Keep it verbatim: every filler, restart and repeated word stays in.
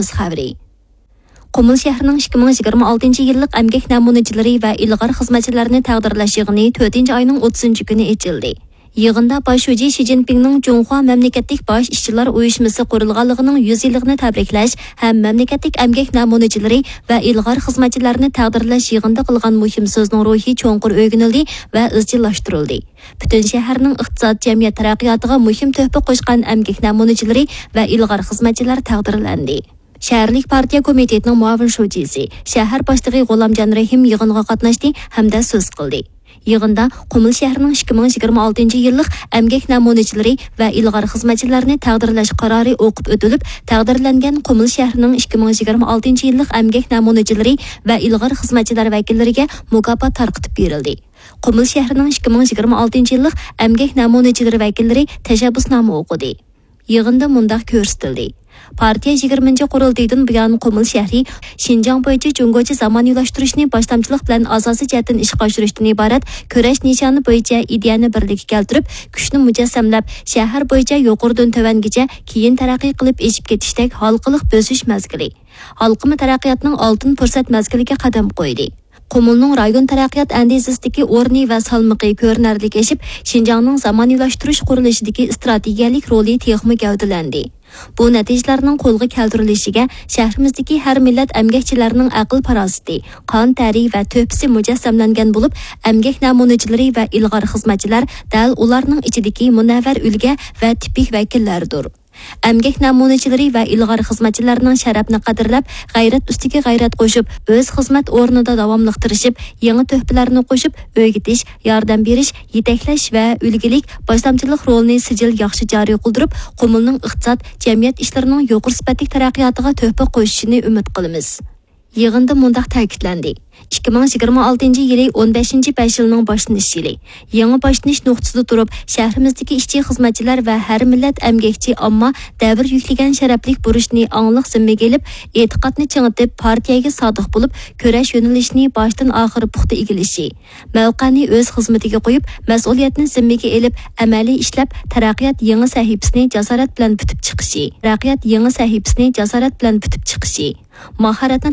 خەۋىرى. قۇمۇل شەھىرىنىڭ ئىككى مىڭ يىگىرمە ئالتىنچى يىللىق ئەمگەك نەمۇنىچىلىرى ۋە ئىلغار خىزمەتچىلەرنى تەقدىرلەش يىغىنى تۆتىنچى ئاينىڭ ئوتتۇزىنچى كۈنى ئېچىلدى. يىغىندا باش شۇجى شى جىنپىڭنىڭ جۇڭخۇا مەملىكەتلىك باش ئىشچىلار ئۇيۇشمىسى قۇرۇلغانلىقىنىڭ يۈز يىللىقىنى تەبرىكلەش ھەم مەملىكەتلىك ئەمگەك نەمۇنىچىلىرى ۋە ئىلغار خىزمەتچىلەرنى تەقدىرلەش يىغىنىدا قىلغان مۇھىم سۆزنىڭ روھى چوڭقۇر ئۆگىنىلدى ۋە ئىزچىللاشتۇرۇلدى. پۈتۈن شەھەرنىڭ ئىقتىساد، جەمئىيەت تەرەققىياتىغا مۇھىم تۆھپە قوشقان ئەمگەك نەمۇنىچىلىرى ۋە ئىلغار خىزمەتچىلەر تەقدىرلەندى. شەھەرلىك پارتىيە كومىتېتىنىڭ مۇئاۋىن شۇجىسى، شەھەر باشلىقى غۇلامجان رەھىم يىغىنغا قاتناشتى ھەمدە سۆز قىلدى. يىغىندا قۇمۇل شەھىرىنىڭ ئىككى مىڭ يىگىرمە ئالتىنچى يىللىق ئەمگەك نەمۇنىچىلىرى ۋە ئىلغار خىزمەتچىلەرنى تەقدىرلەش قارارى ئوقۇپ ئۆتۈلۈپ، تەقدىرلەنگەن قۇمۇل شەھىرىنىڭ ئىككى مىڭ يىگىرمە ئالتىنچى يىللىق ئەمگەك نەمۇنىچىلىرى ۋە ئىلغار خىزمەتچىلەر ۋەكىللىرىگە مۇكاپات تارقىتىپ بېرىلدى. قۇمۇل شەھىرىنىڭ ئىككى مىڭ يىگىرمە ئالتىنچى يىللىق ئەمگەك نەمۇنىچىلىرى ۋەكىللىرى تەشەببۇسنامە ئوقۇدى. يىغىندا مۇنداق كۆرسىتىلدى. پارتىيە يىگىرمىنچى قۇرۇلتىيىدىن بۇيان قۇمۇل شەھىرى شىنجاڭ بويىچە جۇڭگوچە زامانىۋىلاشتۇرۇشنى باشلامچىلىق بىلەن ئاساسىي جەھەتتىن ئىشقا ئاشۇرۇشتىن ئىبارەت كۈرەش نىشانى بويىچە ئىدىيەنى بىرلىككە كەلتۈرۈپ، كۈچنى مۇجەسسەملەپ، شەھەر بويىچە يۇقىرىدىن تۆۋەنگىچە كېيىن تەرەققىي قىلىپ ئېشىپ كېتىشتەك ھالقىلىق بۆسۈش مەزگىلى، ھالقىما تەرەققىياتنىڭ ئالتۇن پۇرسەت مەزگىلىگە قەدەم قويدى. قۇمۇلنىڭ رايون تەرەققىيات ئەندىزىسىدىكى ئورنى ۋە سالمىقى كۆرۈنەرلىك ئېشىپ، شىنجاڭنىڭ زامانىۋىلاشتۇرۇش قۇرۇلۇشىدىكى ئىستراتېگىيەلىك رولى تېخىمۇ گەۋدىلەندى. بۇ نەتىجىلەرنىڭ قولغا كەلتۈرۈلۈشىگە شەھىرىمىزدىكى ھەر مىللەت ئەمگەكچىلەرنىڭ ئەقىل-پاراسىتى، قان تەرى ۋە تۆھپىسى مۇجەسسەملەنگەن بولۇپ، ئەمگەك نەمۇنىچىلىرى ۋە ئىلغار خىزمەتچىلەر دەل ئۇلارنىڭ ئىچىدىكى مۇنەۋۋەر ئۈلگە ۋە تىپىك ۋەكىللەردۇر. ئەمگەك نەمۇنىچىلىرى ۋە ئىلغار خىزمەتچىلەرنىڭ شەرەپنى قەدىرلەپ، غەيرەت ئۈستىگە غەيرەت قوشۇپ، ئۆز خىزمەت ئورنىدا داۋاملىق تىرىشىپ، يېڭى تۆھپىلەرنى قوشۇپ، ئۆگىتىش، ياردەم بېرىش، يېتەكلەش ۋە ئۈلگىلىك باشلامچىلىق رولىنى سىجىل ياخشى جارى قىلدۇرۇپ، قۇمۇلنىڭ ئىقتىساد، جەمئىيەت ئىشلىرىنىڭ يۇقىرى سۈپەتلىك تەرەققىياتىغا تۆھپە قوشۇشىنى ئۈمىد قىلىمىز. يىغىندا مۇنداق تەكىتلەندى: ئىككى مىڭ يىگىرمە ئالتىنچى يىلى ئون بەشىنچى بەش يىلنىڭ باشلىنىش يىلى. يېڭى باشلىنىش نۇقتىسىدا تۇرۇپ، شەھىرىمىزدىكى ئىشچى-خىزمەتچىلەر ۋە ھەر مىللەت ئەمگەكچى ئامما دەۋر يۈكلىگەن شەرەپلىك بۇرچنى ئاڭلىق زىممىگە ئېلىپ، ئېتىقادنى چىڭىتىپ، پارتىيەگە سادىق بولۇپ، كۈرەش يۆنىلىشىنى باشتىن ئاخىر پۇختا ئىگىلىشى، مەۋقەنى ئۆز خىزمىتىگە قويۇپ، مەسئۇلىيەتنى زىممىگە ئېلىپ، ئەمەلىي ئىشلەپ، تەرەققىيات يېڭى سەھىپىسىنى جاسارەت بىلەن پۈتۈپ چىقىشى، تەرەققىيات يېڭى سەھىپىسىنى جاسارەت بىلەن پۈتۈپ چىقىشى، ماھارەتنى